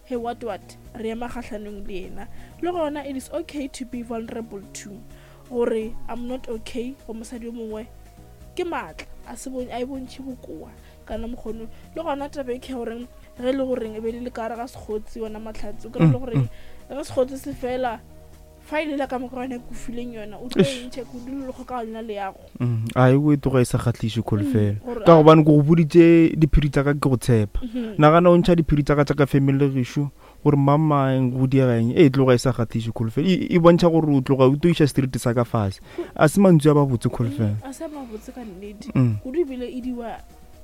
He what what re ema kgahlanong le yena. Le gona it is okay to be vulnerable too. Gore I'm not okay go mosadi yo mongwe ke maatla a se a e bontšhe bokoa kana mokgono. Le gona taba e ke goreng ge e le goreng e be le le ka gare ga sekgotsi wena Mahlatse o kry le goreng ge sekgotsi se fela Fa e lela ka moka yona e kofileng yona o tlo e ntšha kudu le kgokagano ya leago. Mm, a e o e tloga e sa kgahliše kholofelo mm, ka gobane ke go boditše diphiri tsa ka ke go tshepa mm-hmm. nagana o ntšha diphiri tsa ka tsa ka family gešo gore mamang go diega eng e tloga e sa kgahliše kholofelo e, e bontšha gore o tloga o toiša street sa ka fase a se mantswe a babotse kholofelo mm, a se mabotse ka nnete kudu ebile e diwa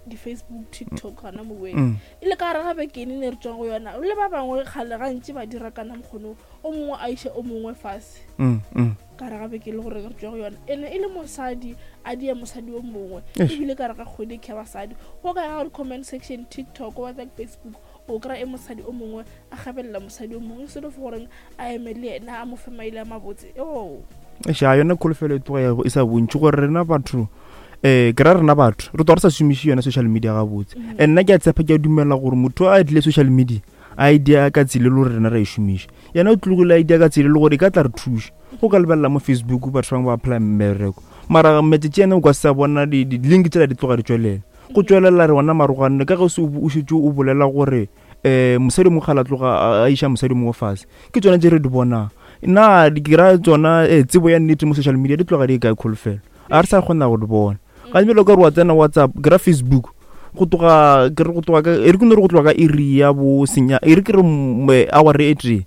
di-facebook tiktok gana moweng e le ka gare ga bekene ne re tswang go yona le ba bangwe kgale gantši ba dira kana mokgono o mongwe a iše o mongwe fase mm, mm. ka re gabe ke le gore re tswa go yona ene e le mosadi a dia mosadi o mongwe ebile ka re ga kgwedi ke basadi go ka ya comment section tiktok whatsapp facebook o kry e mosadi o mongwe a gabelela mosadi o mongwe instead of goreng a eme le yena a mo fe maile a mabotse o ša yone kholofelo e tloga e sa bontši gore rena batho um ke ra rena batho re tloga re sa šomiše yone social media gabotse mm. and nna ke a tshepa ke a dumela gore motho a tlile social media idea ka tsela e le gore rena ra e šomiša yena o tlogile idea ka tsela e le gore e ka tla re thuša go ka lebelela mo facebook batho bangwe ba apply mmereko mara matšatši ena o ka sa bona di-link tsela di tloga di tswelela go tswelela re ona maroganne ka ge o šetse o bolela gore um mosadi mongwe ga la tloga a iša mosadi mongwe fase ke tsone tse re di bonang na ke ra tsona eh, tsebo ya nnete mo social media di tloga di e kae kholofelo a re sa kgona go di bona ga bjalo ka re wa tsena whatsapp ke ra facebook go tloga ke re go tloga ka e re ke no re go tloga ka iri ya bo senya e re ke re hour e tee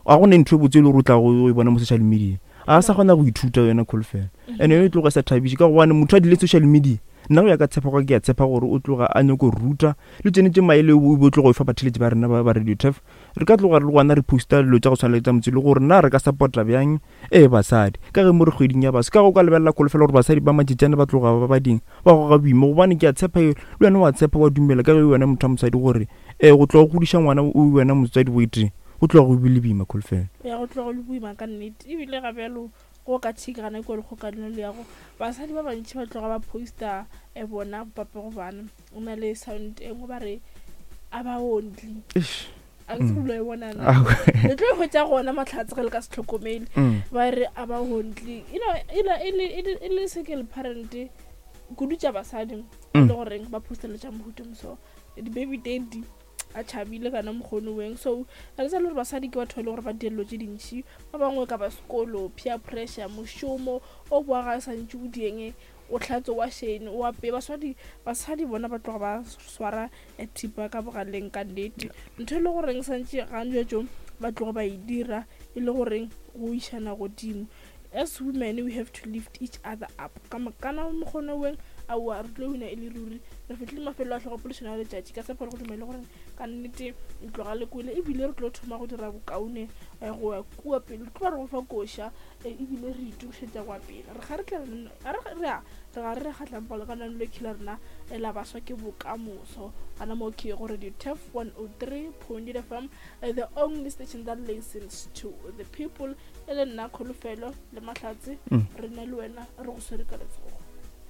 a go ne ntho e botse e le gore o tla go e bona mo social media a sa kgona go ithuta yona kholofelo and yone e tloga e sa thabiše ka gobane motho a dile social media nna go ya ka tshepa ke a tshepa gore o tloga a nyako ruta le tsone tse maele o bo tloga o fa batheletši ba rena ba radio tef re ka tloga re le gona re posta dilo tša go tshwana le tsa motse le gore na re ka support-a bjang Ee, basadi. Ka ge mo re kgweding ya baswa, ka ge o ka lebelela kholofelo gore basadi ba matšatšana ba tloga ba ba ding, ba goga boima, gobane ke a tshepa le wena wa tshepa, wa dumela ka ge wena motho wa mosadi gore ee, go tloga go godiša ngwana o wena motswadi o tee, go tloga go bile boima kholofelo. Ya go tloga go le boima ka nnete. Ebile ga bjalo go ka thikana kua lekgokanong le yago, basadi ba bantši ba tloga ba poster bona bopapego bana. O na le sound e nngwe ba re a ba ondli. Eish. A ke tsebe e bona na. Le tlo e hwetša gona mahlatse ge le ka se hlokomele. Mm. Ba re a ba ondli. You know, e le e le e le single parent kudu tša basadi mm. le goreng ba posteletša mohuta moso di-baby daddy a tšhabile kana mokgone weng so a le sa le gore basadi ke batho ba e le gore ba dilo tše dintšhi ba bangwe ka ba sekolo peer pressure mošomo o boa ga sa ntše o dieng o hlatswe wa shane o apeye baswadi basadi bona ba tloga ba swara thipa ka bogaleng ka nnete ntho e le goreng santše gantšetšo ba tloga ba e dira e le goreng go išana godimo as women we have to lift each other up ka kana mokgone weng aowa re tlo wina e le ruri re fitlhile mafelo a tlhogopolešano ya letšatši ka tshepo le go dumele gore ka nnete tloga le kwele ebile re tlo thoma go dira bokaone eh, go ya kua pele re tlo ba re go fa koša eh, ebile re itokišetša kwa pele re ga re tla re re a re ga re re kgatlang palo ka nang le khila rena eh, la baswa ke bokamoso gana mo ke go radio tef 103.8 fm eh, the only station that listens to the people e le nna kholofelo le mahlatse mm. re na le wena re go swere ka letsogo.